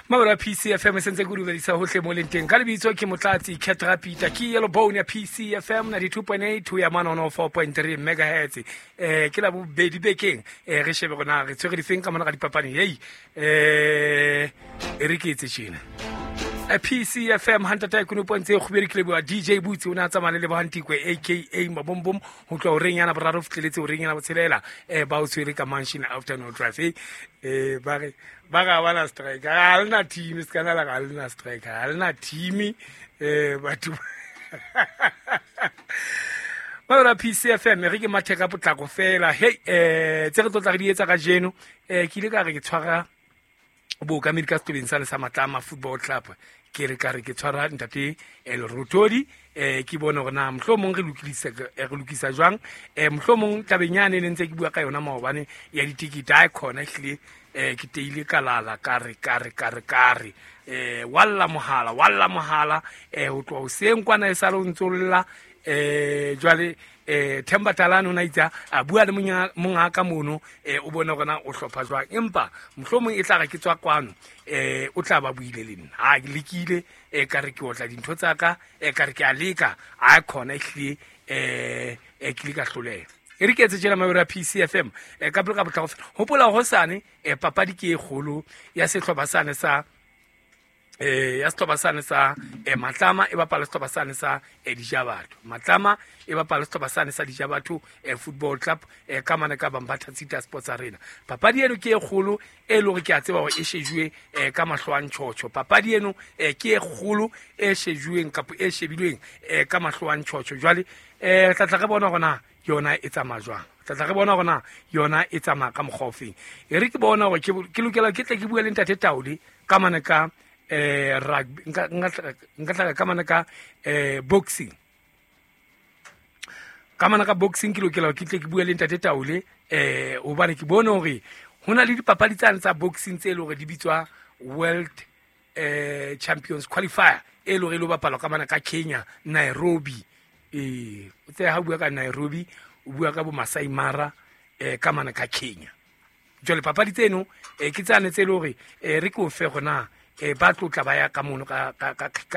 Mabelo a PCFM e sentse ke o dumedisa hohle mo leng teng. Ka lebitso ke Motlatsi Ketra Peter, ke Yellow Bone ya PCFM 92.8 ho ya mane 104.3 megahertz. Ke la bobedi bekeng, re shebe rona re tshwere difeng ka mona ga dipapadi. Hei, e re ke etse tjena. PCFM hantata e konopo ntse e kgubedi ke leboha DJ Boots, o ne a tsamaya le Lebohang Tikwe aka Mabombom ho tloha horeng yana boraro ho fihleletse horeng yana botshelela, ba o tshwere ka Mansion Afternoon Drive. Ba re ba ga bana strike, ga lena team, se kana la ga lena strike, ga lena team, batho ba ra PCFM re ke mathe ka potlako fela. Hey, tse re tlotla re di etsa kajeno, ke ile ka re ke tshwara bookamedi ka setobeng sa le sa Matlama Football Club, ke re ka re ke tshwara ntate Lerotodi, ke bone hore na mohlomong re lokisa jwang, mohlomong tabeng yane ne ntse ke bua ka yona maobane ya ditikete, ha e khona ehlile, ke teile ka lala ka re ka re ka re ka re, walla mohala, walla mohala, ho tloha hoseng kwana e sale o ntso lla, jwale, Themba Talane o na itse a bua le monga ka mono, o bone hore na o hlopha jwang, empa mohlomong e tla re ke tswa kwano, o tla ba buile le nna. Ha ke lekile, ka re ke otla dintho tsa ka, ka re ke a leka, ha khona ehlile, ke le ka hloleha. E re ke etse tjena mabelo a PCFM, ka pele ka potlako fela. Hopola hosane, papadi ke e kgolo ya sehlopha sane sa, ya sehlopha sane sa, Matlama e bapala sehlopha sane sa, Dijabatho. Matlama e bapala sehlopha sane sa Dijabatho, Football Club, ka mane ka Bambatha Tsita Sports Arena. Papadi eno ke e kgolo e leng hore ke a tseba hore e shejuwe, ka mahlo a ntjhotjho. Papadi eno, ke e kgolo e shejuweng kapa e shebilweng, ka mahlo a ntjhotjho. Jwale, re tla tla re bona hore na yona e tsamaya jwang, tla tla re bona hore na yona e tsamaya ka mokgwa ofeng. E re ke bona hore ke lokela ke tle ke bue le ntate Taole ka mane ka, rugby, nka tla ka mane ka, boxing. Ka mane ka boxing ke lokela ke tle ke bue le ntate Taole, hobane ke bone hore ho na le dipapadi tsane tsa boxing tse leng hore di bitswa World, Champions Qualifier, e leng hore e lo bapalwa ka mane ka Kenya, Nairobi. O tsebe ha o bua ka Nairobi, o bua ka bo Masai Mara, ka mane ka Kenya. Jwale papadi tseno, ke tsane tse leng hore, re ke o fe hore na, ba tlo tla ba ya ka mono ka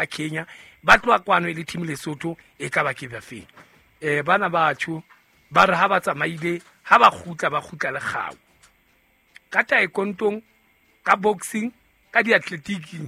Kenya, ba tloha kwano e le team Lesotho, e ka ba ke ba feng. Bana batho ba re ha ba tsamaile, ha ba kgutla, ba kgutla le kgau. Ka taekwondo, ka boxing, ka diathletiking,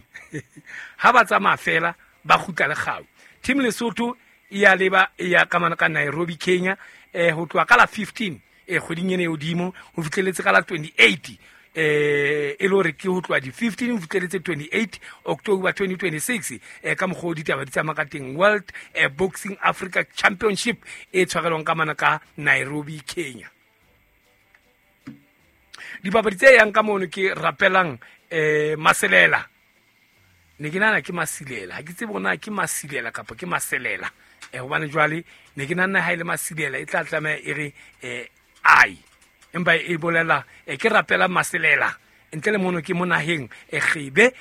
ha ba tsamaya fela, ba kgutla le kgau. Team Lesotho e ya leba, e ya ka mane ka Nairobi, Kenya, ho tloha ka la 15, kgweding ena e hodimo, ho fihleletse ka la 28, e le hore ke ho tloha di 15 ho fihleletse 28 October 2026, ka mokgwa o ditaba di tsamaya ka teng. World, Boxing Africa Championship e tshwarelwang ka mane ka Nairobi, Kenya. Dipapadi tse yang ka mono ke Rapelang, Maselela. Ne ke nahana ke Masilela, ha ke tsebe hore na ke Masilela kapa ke Maselela. Hobane jwale ne ke nahana ha e le Masilela e tla tlameha e re, ai, empa e bolela, ke Rapelang Maselela. Ntle le mono ke mo naheng, Kgebe,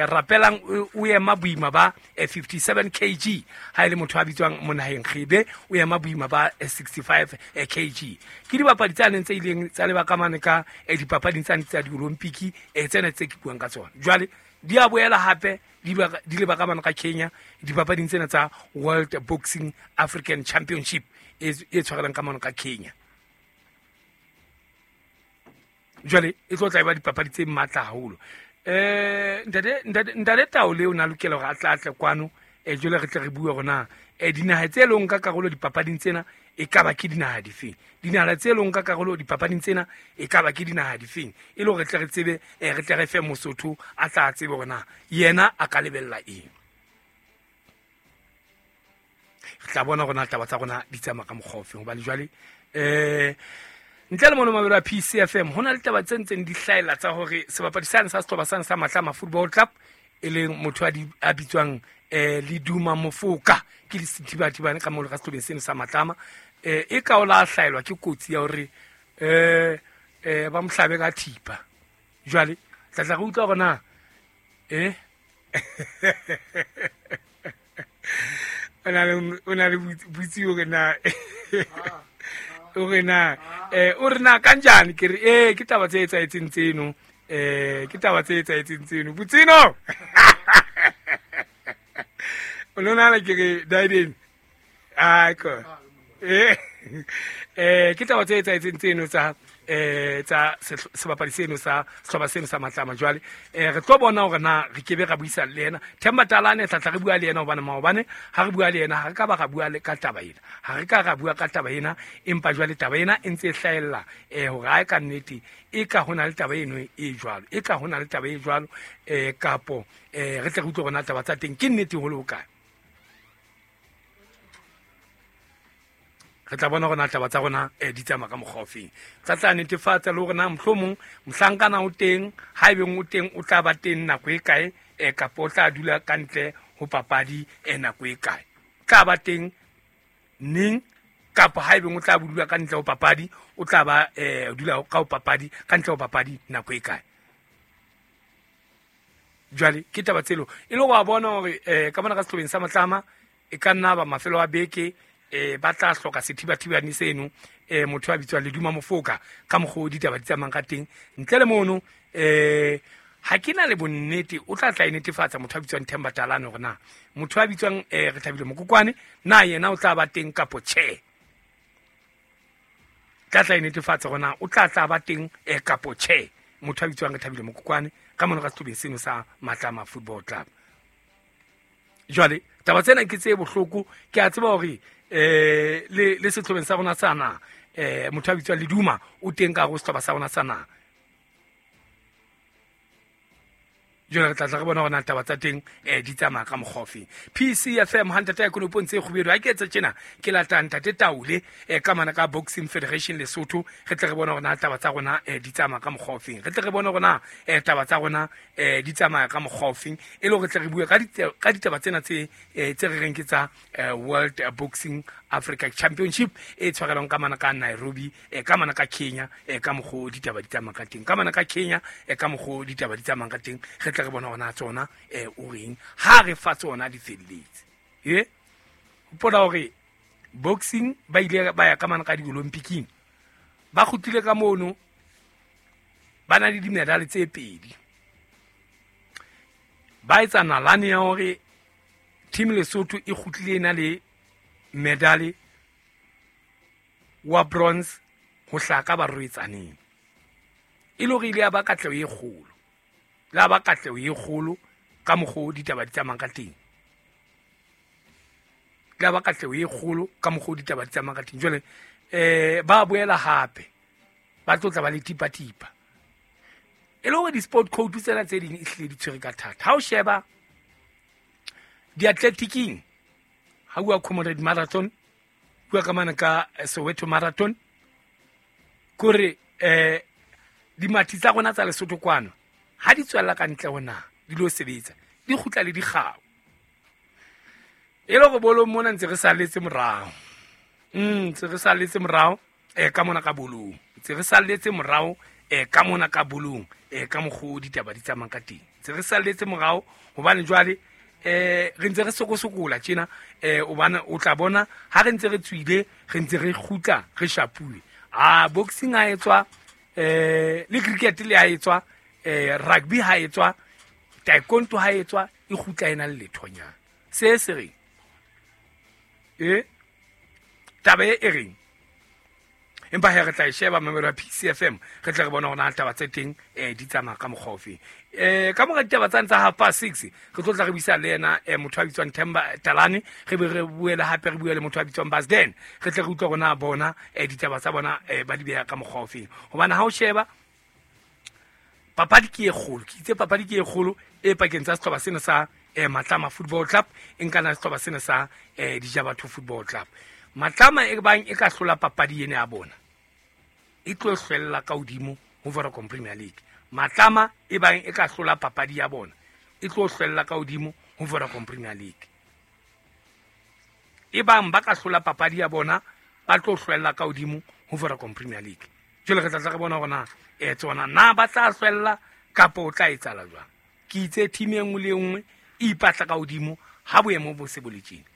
Rapelang o ema boima ba, 57 kg. Ha e le motho a bitswang mo naheng Kgebe, o ema boima ba, 65, kg. Ke dibapadi tsa neng tse ileng tsa leba ka mane ka, dipapading tsane tsa di-Olympic, tsena tse ke buang ka tsona. Jwale di a boela hape di leba ka mane ka Kenya dipapading tsena tsa World Boxing African Championship e tshwarelang ka mane ka Kenya. Jwale e tlo tla e ba dipapadi tse matla haholo. Ntate Taole o na lokela hore a tla tle kwano, jwale re tle re bue hore na, dinaha tse leng ka karolo dipapading tsena e ka ba ke dinaha difeng. Dinaha tse leng ka karolo dipapading tsena e ka ba ke dinaha difeng, e le hore re tle re tsebe, re tle re fe Mosotho a tla tsebe hore na yena a ka lebella eng. Re tla bona hore na taba tsa rona di tsamaya ka mokgwa ofeng, hobane jwale, ntle le mono mabelo a PCFM, ho na le taba tse ntseng di hlahella tsa hore sebapadi sane sa sehlopha sane sa Matlama Football Club, e leng motho a bitswang, Leduma Mofoka, ke lesithibathibane ka mono ka sehlobeng seno sa Matlama, e ka o la hlaelwa ke kotsi ya hore, ba mo hlabe ka thipa. Jwale tla tla re utlwa hore na, o na le, o na le botsi hore na, o re na, o re na kanjani, ke re, ke taba tse etsahetseng tseno. Ke taba tse etsahetseng tseno. Botsino. O lona le ke re Daiden. Ai ko. Ke taba tse etsahetseng tseno tsa tsa sebapadi seno sa sehlopha seno sa Matlama. Jwale re tlo bona hore na re kebe ra buisana le yena Themba Talane, tla tla re bua le yena, hobane maobane ha re bua le yena ha re ka ba ra bua le ka taba ena, ha re ka ra bua ka taba ena, empa jwale taba ena e ntse e hlahella hore ha e ka nnete e ka hona le taba eno e jwalo, e ka hona le taba e jwalo, kapo re tle re utlwe hore na taba tsa teng ke nnete ho le hokae. Re tla bona hore na taba tsa rona di tsamaya ka mokgwa ofeng. Tla tla netefatsa le hore na mohlomong mohlankana o teng, haebeng o teng o tla ba teng nako e kae, kapa o tla dula ka ntle ho papadi nako e kae, tla ba teng neng, kapa haebeng o tla dula ka ntle ho papadi, o tla ba dula ka ho papadi ka ntle ho papadi nako e kae. Jwale ke taba tselo e le wa bona hore ka mona ka sehlobeng sa Matlama e ka nna ba mafelo a beke ba tla hloka sethibathibane seno, motho a bitswang Leduma Mofoka ka mokgwa o ditaba di tsamayang ka teng. Ntle le mono ha ke na le bonnete o tla tla e netefatsa motho a bitswang Themba Talane hore na motho a bitswang Rethabile Mokokwane na yena o tla ba teng kapo tjhe. Tla tla e netefatsa hore na o tla tla ba teng kapo tjhe motho a bitswang Rethabile Mokokwane ka mona ka sehlobeng seno sa Matlama Football Club. Jwale taba tsena ke tse bohloko, ke a tseba hore le sehlobeng sa rona sa na motho a bitswang Leduma o teng ka hare ho sehlopha sa rona sa na. Jwale re tla tla re bona hore na taba tsa teng di tsamaya ka mokgwa ofeng. PCFM ha ntate ya konopong tse kgubedu ha ke etse tjena ke lata ntate Taule ka mana ka Boxing Federation Lesotho, re tle re bone hore na taba tsa rona di tsamaya ka mokgwa ofeng. Re tle re bone hore na taba tsa rona di tsamaya ka mokgwa ofeng, e le hore tle re bue ka ditaba tsena tse tse re reng ke tsa World Boxing Africa Championship e tshwarelwang ka mana ka Nairobi, ka mana ka Kenya, ka mokgwa ditaba di tsamaya ka teng, ka mana ka Kenya, ka mokgwa ditaba di tsamaya ka teng. Re tle re bona hore na tsona o reng ha re fa tsona di felletse. Hopola hore boxing ba ile ba ya ka mana ka di-Olympic-ing, ba kgutlile ka mono ba na le dimedale tse pedi. Ba etsa nalane ya hore team Lesotho e kgutlile e na le medale wa bronze ho hlaka barwetsaneng, e le hore ile ya ba katleho e kgolo, la ba katleho e kgolo ka mokgwa ditaba di tsamayang ka teng, la ba katleho e kgolo ka mokgwa ditaba di tsamayang ka teng. Jwale ba boela hape ba tlo tla ba le tipa-tipa, e le hore di-sport code tsena tse ding e hlile di tshwere ka thata. Ha o sheba di-athletiking, ha bua Comrade Marathon, bua ka mana ka Soweto Marathon, kore dimathi tsa rona tsa Lesotho kwano ha di tswella ka ntle ho naha di lo sebetsa, di kgutla le dikgau. E le hore bolong mona ntse re salletse morao, ntse re salletse morao ka mona ka bolong, ntse re salletse morao ka mona ka bolong, ka mokgwa ditaba di tsamayang ka teng, ntse re salletse morao. Hobane jwale re ntse re sokosokola tjena, hobane o tla bona ha re ntse re tswile re ntse re kgutla re shapuwe. Boxing ha etswa, le cricket le ha etswa, rugby ha etswa, taekwondo ha etswa, e kgutla e na le lethonyana. Se se reng taba e reng, empa he re tla e sheba mamelo ya PCFM, re tle re bona hore na taba tse teng di tsamaya ka mokgwa ofeng. Ka mora ditaba tsane tsa 6:30 re tlo tla re buisa le yena motho a bitswang Themba Talane, re be re bue le hape re bue le motho a bitswang Basden, re tle re utlwe hore na bona ditaba tsa bona ba di beha ka mokgwa ofeng. Hobane ha o sheba papadi ke e kgolo, ke itse papadi ke e kgolo e pakeng tsa sehlopha sena sa Matlama Football Club e nkana sehlopha sena sa Dijabatho Football Club. Matlama e bang e ka hlola papadi ena ya bona e tlo hlwella ka hodimo ho Vodacom Premier League. Matlama e bang e ka hlola papadi ya bona e tlo hlwella ka hodimo ho Vodacom Premier League. E bang ba ka hlola papadi ya bona ba tlo hlwella ka hodimo ho Vodacom Premier League. Jwale re tla tla re bona hore na tsona na ba tla hlwella kapa o tla etsahala jwang. Ke itse team e nngwe le e nngwe e ipatla ka hodimo ha boemo bo se bo le tjena.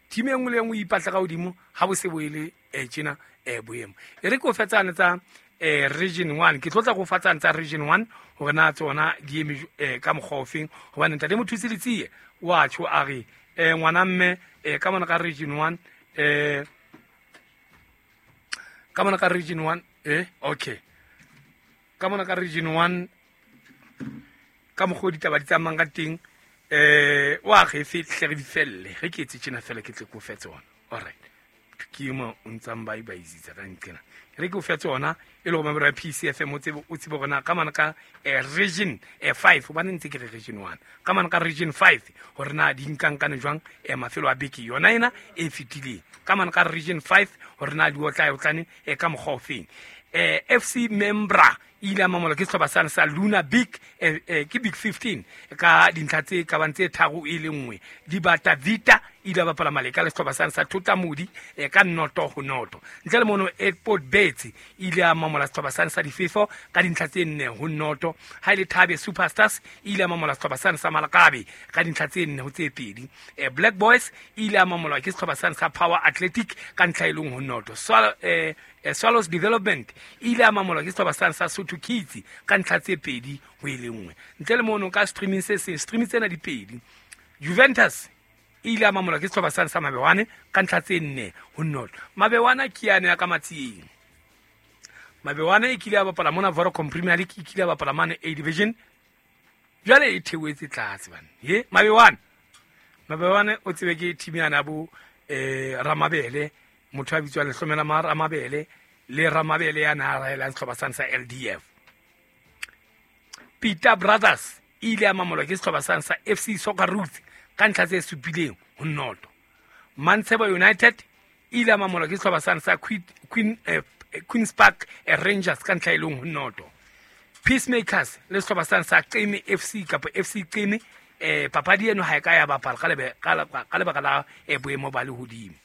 Team e nngwe le e nngwe e ipatla ka hodimo ha bo se bo e le tjena boemo. E re ke o fetsane tsa Region 1 ke tlo tla go fa tsane tsa Region 1 hore na tsona di eme ka mokgwa ofeng, hobane ntate Mothusi Letsie wa tjho a re ngwana mme ka mona ka Region 1 ka mona ka Region 1 okay ka mona ka Region 1 ka mokgwa o ditaba di tsamayang ka teng wa ge hle re di felle ge ke etse tjena fela ke tle ko fe tsona. Alright, ke mo o ntsang ba ba isitsa ka nqena re ke o fe tsona e le go member ya PCFM o tsebe gona ka mana ka Region 5 hobane ntse ke re Region 1 ka mana ka Region 5 hore na di nkankane jwang mafelo a beke yona ena e fetileng ka mana ka Region 5 hore na di otla otlane ka mokgwa ofeng. FC Membra ile a mamola ke sehlopha sane sa Luna Big ke Big 15 ka dintlha tse ka bang tse 3 e le nngwe. Dibata Vita ile a bapala maleka le sehlopha sane sa Thotamodi ka 0-0. Ntle le mono Airport Birds ile a mamola sehlopha sane sa Difefo ka dintlha tse 4-0. Ha ile Thabe Superstars ile a mamola sehlopha sane sa Malakabe ka dintlha tse 4-2. Black Boys ile a mamola ke sehlopha sane sa Power Athletic ka ntlha e leng ho 0. Swallows Development ile a mamola ke sehlopha sane sa Sotho Kids ka ntlha tse 2-1. Ntle le mono ka streaming se seng streaming tsena di pedi. Juventus ile a mamola ke sehlopha sane sa Mabewane ka ntlha tse 4-0. Mabewana ke yane ya ka Matsieng. Mabewane e kile a bapala mona Vodacom Premier League, e kile a bapala mane A Division. Jwale e theohetse tlase bana. He Mabewane. Mabewane o tsebe ke team yana bo Ramabele, motho a bitswang Lehlomela ma Ramabele le Ramabele ya na raelang sehlopha sane sa LDF. Peter Brothers ile a mamolwa ke sehlopha sane sa FC Soccer Roots ka ntlha tse 7-0. Mantshebo United ile a mamolwa ke sehlopha sane sa Queen's Park Rangers ka ntlha e leng ho 0. Peacemakers le sehlopha sane sa Qeme FC kapa FC Qeme papadi eno ha e ka ya bapala ka lebaka la boemo ba lehodimo.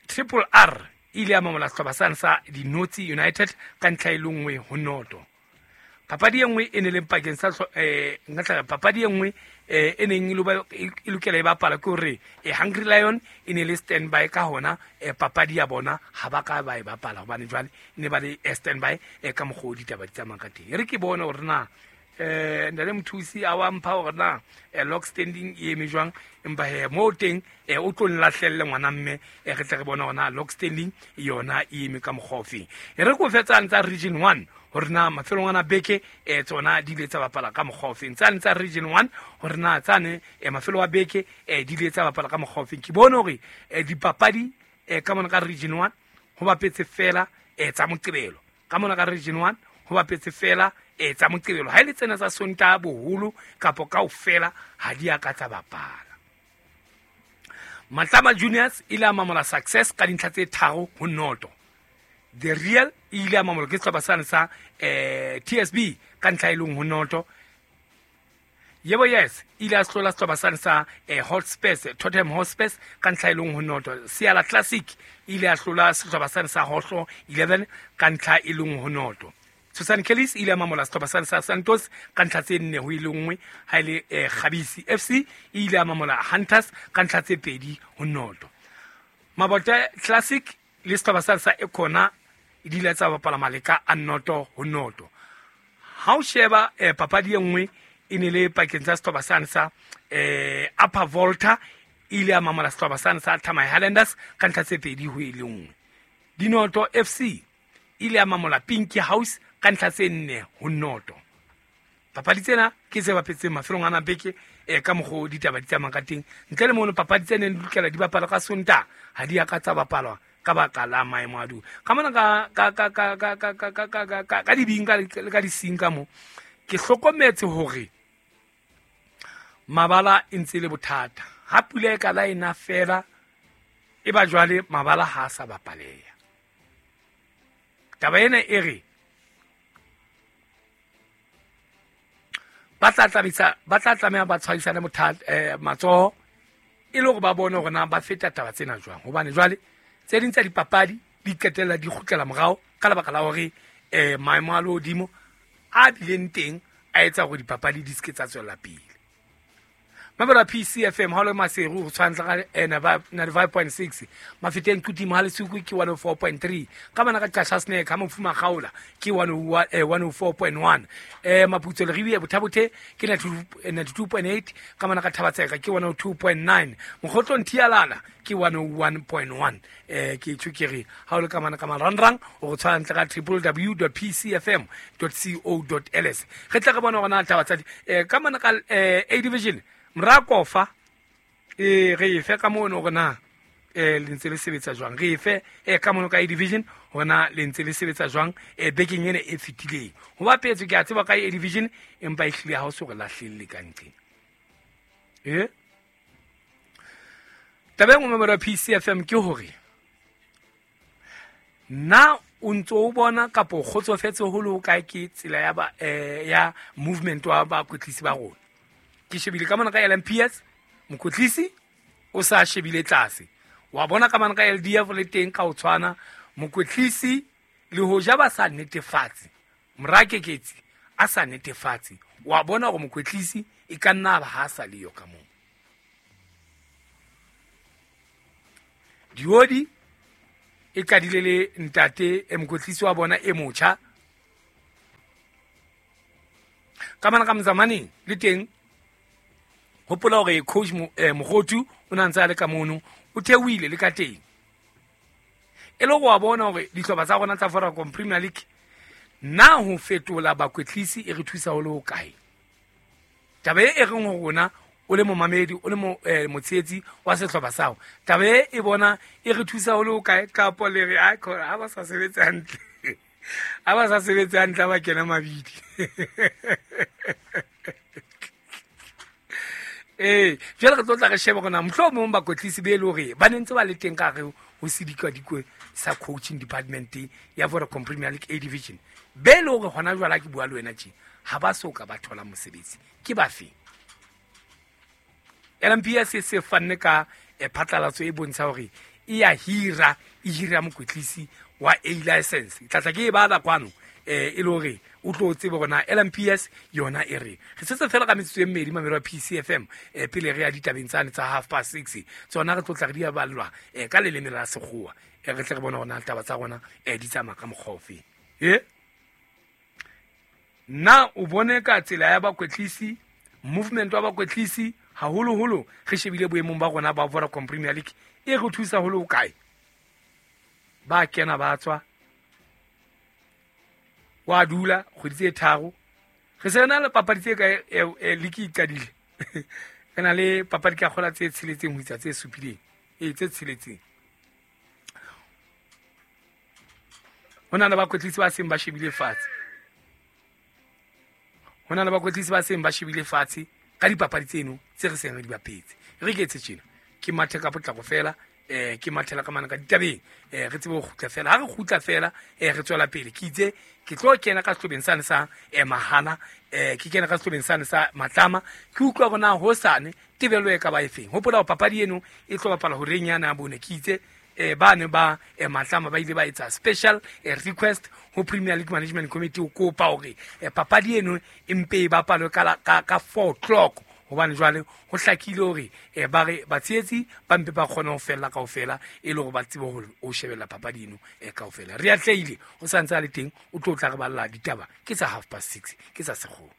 Triple R ile a mamola sehlopha sane sa Dinotsi United ka ntlha e le 1-0. Papadi e nngwe e ne leng pakeng sa papadi e nngwe e neng e lokela e bapala ke hore Hungry Lion e ne le standby ka hona papadi ya bona ha ba ka ba e bapala hobane jwale ne ba le standby ka mokgwa o ditaba di tsamayang ka teng. E re ke bone hore na ntate Mothusi a wa mpha hore na lock standing e eme jwang, empa he mo teng o tlo nlahlelle ngwana mme re tle re bone hore na lock standing yona e eme ka mokgwa ofeng. E re ko fetsang tsa Region 1 hore na mafelong ana beke tsona di ile tsa bapala ka mokgwa ofeng. Tsane tsa Region 1 hore na tsane mafelo a beke di ile tsa bapala ka mokgwa ofeng. Ke bone hore dipapadi ka mona ka Region 1 ho bapetse fela tsa Moqebelo. Ka mona ka Region 1 ho bapetse fela tsa Moqebelo. Ha ile tsena tsa Sontaha boholo kapa kaofela ha di a ka tsa bapala. Matlama Juniors ile a mamola Success ka dintlha tse 3-0. The Real ile a mamola ke sehlopha sane sa TSB ka ntlha e leng ho 0. Yebo Yes ile a hlola sehlopha sane sa Hotspurs, Tottenham Hotspurs ka ntlha e leng ho 0. Siala Classic ile a hlola sehlopha sane sa Hotlo 11 ka ntlha e leng ho 0. Susan Kellis ile a mamola sehlopha sane sa Santos ka ntlha tse 4-1. Ha ile Khabisi FC ile a mamola Hunters ka ntlha tse 2-0. Mabote Classic le sehlopha sane sa Ekona di ile tsa bapala maleka a 0-0. Ha o sheba papadi e nngwe e ne le pakeng tsa sehlopha sane sa Upper Volta ile a mamola sehlopha sane sa Thamai Highlanders ka ntlha tse 2-1. Dinoto FC ile a mamola Pinky House ka ntlha tse 4-0. Papadi tsena ke tse bapetseng mafelong ana beke ka mokgwa o ditaba di tsamayang ka teng. Ntle le mono papadi tse neng di lokela di bapala ka Sontaha ha di a ka tsa bapalwa ka baka la maemo a du. Ka mona ka dibing ka le ka dising ka mo ke hlokometse hore mabala e ntse le bothata. Ha pula e ka la ena fela e ba jwale mabala ha sa bapaleha. Taba ena e re ba tla tlameha ba tshwarisane bothata matsoho e le hore ba bone hore na ba feta taba tsena jwang, hobane jwale tse ding tsa dipapadi di qetella di kgutlela morao ka lebaka la hore maemo a lehodimo a bileng teng a etsa hore dipapadi di se ke tsa tswela pele. Mabela PCFM ha le Maseru ho tshwantsha ka 95.6, Mafeteng Qutima ha Lesuku ke 104.3, ka bana ka Qasha Snack ha Mofuma Kgaola ke 104.1, Maputso Leribe Bothabothe ke 92.8, ka bana ka Thabatseka ke 102.9, Mokgotlong Thialala ke 101.1. Ke tshukere ha o le ka mana ka marangrang o go tshwantsha ka www.pcfm.co.ls. Re tla re bona hore na taba tsa ka mana ka A division Mrakofa re efe ka mono hore na le ntse le sebetsa jwang, re efe ka mono ka A division hore na le ntse le sebetsa jwang bekeng ena e fetileng. Ho bapetswe ke a tseba ka A division, empa e hlile ha o so re lahlelle ka nqeng. Taba e nngwe mamelo ya PCFM ke hore na o ntso o bona kapa o kgotsofetse ho le ho kae ke tsela ya ba ya movement wa bakwetlisi ba rona. Ke shebile ka mona ka LMPS, mokwetlisi o sa shebile tlase. Wa bona ka mona ka LDF le teng ka ho tshwana, mokwetlisi le hoja ba sa netefatse, Morakeketsi a sa netefatse, wa bona hore mokwetlisi e ka nna ba ha sa le yo ka moo. Diodi e qadile le ntate e mokwetlisi wa bona e motjha. Ka mana ka Mzamaneng le teng, hopola hore coach Mokgothu o na ntse a le ka mono, o theohile le ka teng. E le hore wa bona hore dihlopha tsa rona tsa Vodacom Premier League na ho fetola bakwetlisi e re thusa ho le hokae. Taba e reng ho rona o le momamedi, o le motshehetsi wa sehlopha sa hao, taba e bona e re thusa ho le hokae, kapo le re a khona ha ba sa sebetse hantle, ha ba sa sebetse hantle ba kena mabidi. Jwale re tlo tla re shebe hore na mohlomong bakwetlisi be le hore ba ne ntse ba le teng ka hare ho sedikwadikwe sa coaching department ya Vodacom Premier League A division, be le hore hona jwale ha ke bua le wena tje ha ba so ka ba thola mosebetsi ke ba feng. LMPS se fanne ka phatlalatso e bontsha hore e ya hira, e hira mokwetlisi wa A license. Tlatla ke e bala kwano e le hore o tlo tsebe hore na LMPS yona e re. Re setse fela ka metsotso e mmedi mamelo ya PCFM pele re ya ditabeng tsane tsa 6:30. Tsona re tlo tla re di ballwa ka leleme la sekgowa. Re tle re bone hore na taba tsa rona di tsamaya ka mokgwa ofe. Na o bone ka tsela ya bakwetlisi, movement wa bakwetlisi haholoholo re shebile boemong ba rona ba Vodacom Premier League e re thusa ho le hokae. Ba kena ba tswa, wa dula kgwedi tse tharo. Re se na le papadi tse kae league e qadile. Re na le papadi ka kgola tse tsheletseng ho isa tse supileng, tse tsheletseng. Ho na le bakwetlisi ba seng ba shebile fatshe, ho na le bakwetlisi ba seng ba shebile fatshe ka dipapadi tseno tse re seng re di bapetse. Re ke etse tjena, ke mathe ka potlako fela, ke mathela ka mana ka ditabeng, re tsebe ho kgutla fela. Ha re kgutla fela, re tswela pele. Ke itse ke tlo kena ka sehlobeng sane sa Mahala, ke kena ka sehlobeng sane sa Matlama, ke utlwa hore na hosane tebello e ka ba efeng. Hopola hore papadi eno e tlo bapala horeng yana ya bone. Ke itse ba ne ba Matlama ba ile ba etsa special request ho Premier League Management Committee ho kopa hore papadi eno e mpe e bapalwe ka 4 o'clock, hobane jwale ho hlakile hore ba re batshehetsi ba mpe ba kgone ho fella kaofela e le hore ba tsebe ho shebella papadi eno kaofela. Re atlehile, o sa ntse a le teng, o tlo tla re balla ditaba ke tsa 6:30 ke tsa sekgowa.